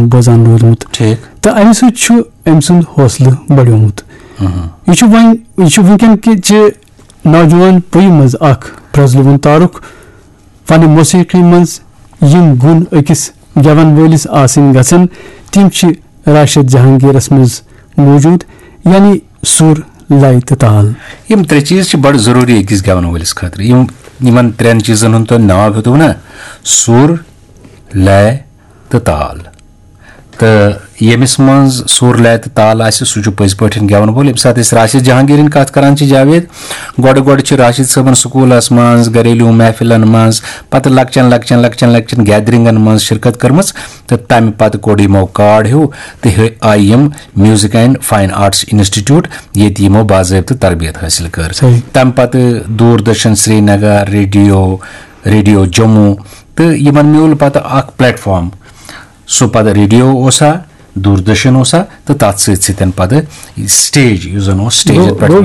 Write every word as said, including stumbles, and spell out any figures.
بوزان روٗدمُت۔ ٹھیٖک۔ تہٕ امہِ سۭتۍ چھُ أمۍ سُنٛد حوصلہٕ بڑیومُت۔ یہِ چھُ وۄنۍ یہِ چھُ وٕنکیٚن کہِ چہِ نوجوان پُیہِ منٛز اکھ پرٛزلوُن تعارُک۔ فنِ موسیقی منٛز یِم گُن أکِس گٮ۪ون وٲلِس آسٕنۍ گژھن، تِم چھِ راشد جہانگیرس منٛز موجود، یعنی سُر، لے تہٕ تال۔ یِم ترٛےٚ چیٖز چھِ بڑٕ ضروٗری أکِس گٮ۪ون وٲلِس خٲطرٕ۔ یِم یِمن ترٛٮ۪ن چیٖزن ہُنٛد تۄہہِ ناو ہیوٚتوُ نا، سُر، لے تہٕ تال۔ تہٕ ییٚمِس منٛز سُر، لے تہٕ تال آسہِ، سُہ چھُ پٔزۍ پٲٹھۍ گٮ۪وَن وول۔ ییٚمہِ ساتہٕ أسۍ راشد جہانگیٖرٕنۍ کَتھ کَران چھِ، جاوید، گۄڈٕ گۄڈٕ چھِ راشد صٲبَن سکوٗلَس منٛز، گھریلوٗ محفِلَن منٛز، پَتہٕ لۄکچَن لۄکچَن لۄکچَن لۄکچَن گیدرِنٛگَن منٛز شرکت کٔرمٕژ، تہٕ تَمہِ پَتہٕ کوٚڑ یِمو کارڈ ہیوٗ تہٕ ہے-، آیہِ یِم میوٗزِک اینڈ فاین آرٹس انسٹیٹیوٗٹ، ییٚتہِ یِمو باضٲبطہٕ تربیت حٲصِل کٔر۔ صحیح۔ تَمہِ پَتہٕ دوٗردَرشن سرینگر، ریڈیو، ریڈیو جموں، تہٕ یِمَن میوٗل پَتہٕ اَکھ پلیٹ فارم۔ سُہ پَتہٕ ریڈیو اوسا، دوٗردَرشَن اوسا، تہٕ تَتھ سۭتۍ سۭتۍ پَتہٕ سٹیج، یُس زَن اوس سٹیجَن گوٚو- پٮ۪ٹھ۔ گوٚو